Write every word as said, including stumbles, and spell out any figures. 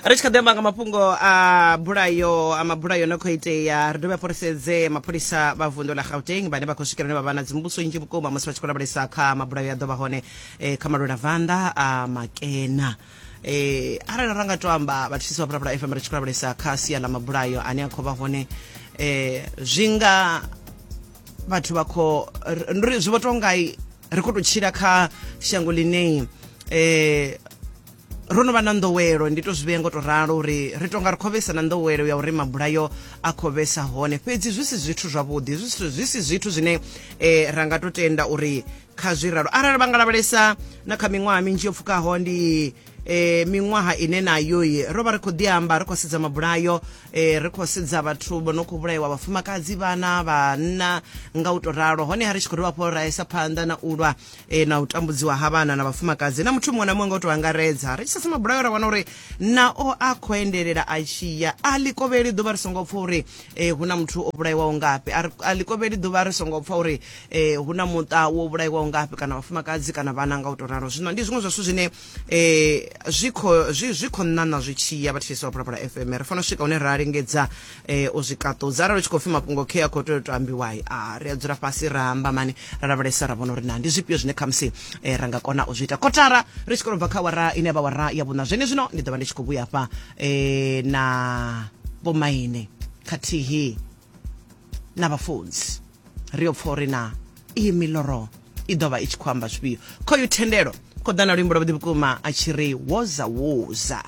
Ri tshi kha ḓi amba nga mafhungo a bulayo a mabulayo no khou itea, ri dovhe hafhu ri sedze mapholisa vha vunḓu ḽa Gauteng vhane vha khou swikela hune vha vha na dzimbudziso nnzhi vhukuma musi vha tshi khou lavhelesa kha mabulayo ya ḓo vha hone eh, kha malwela vanḓa a Makena. Eh, arali ra nga to amba vhathetshelesi vha Phalaphala F M ri tshi khou lavhelesa kha sia ḽa mabulayo ane a khou vha hone, eh, zwi nga vhathu vha khou ri zwi vho tou nga ri khou tou tshila kha shango ḽine eh, ro no vha na nḓowelo, ndi to zwi vhea ngo to ralo uri ri tonga ri khou vhesa na nḓowelo ya uri mabulayo a khou vhesa hone, fhedzi zwi si zwithu zwavhuḓi, zwi si zwi si zwithu zwine eh, ra nga to tenda uri kha zwi ralo. Arali vha nga lavhelesa na kha miṅwaha minzhi yo pfukaho, ndi eh, miṅwaha ine nayo ro vha ri khou ḓi amba ri khou sedza mabulayo, eh, ri khou sedza vhathu vho no khou vhulaiwa, vhafumakadzi, vhana, vhanna nga u to ralo. Hone ha ri tshi khou dovha hafhu ra isa phanḓa na u lwa eh, na u tambudziwa ha vhana na vhafumakadzi na muthu muṅwe na muṅwe nga u to angaredza. Ri tshi sedza mabulayo ra wana uri nao a khou endelela a tshi ya, a ḽi kovheli ḓuvha ri songo pfa uri eh, hu na muthu o vhulaiwaho ngafhi, a ḽi kovheli ḓuvha ri songo pfa uri eh, hu na muṱa wo vhulaiwaho ngafhi, kana vhafumakadzi kana vhana nga u to ralo. Zwino ndi zwiṅwe zwa zwithu zwine eh, zwi khou zwi zwi khou ṋaṋa zwi tshi ya. Vhathetshelesi vha Phalaphala F M ri fanela u swika hune ra lingedza eh, u zwi kaṱudza. Arali u tshi khou pfi mafhungo khe a khou tea u to ambiwa, a ri a dzula fhasi ra amba mani, ra lavhelesa ra vhona uri na ndi zwifhio zwine khamusi eh, ra nga kona u zwi ita. Kotara ri tshi khou bva kha wara ine ya vha wara ya vhuṋa zwene zwino, ndi ḓo vha ndi tshi khou vhuya hafha eh, na vhomaine khathihi na vhafunzi, ri yo pfa uri na iyi miloro i ḓo vha i tshi khou amba zwifhio. Khoyu Thendelo khou ḓa na luimbo lwavhuḓi vhukuma a tshi ri woza woza.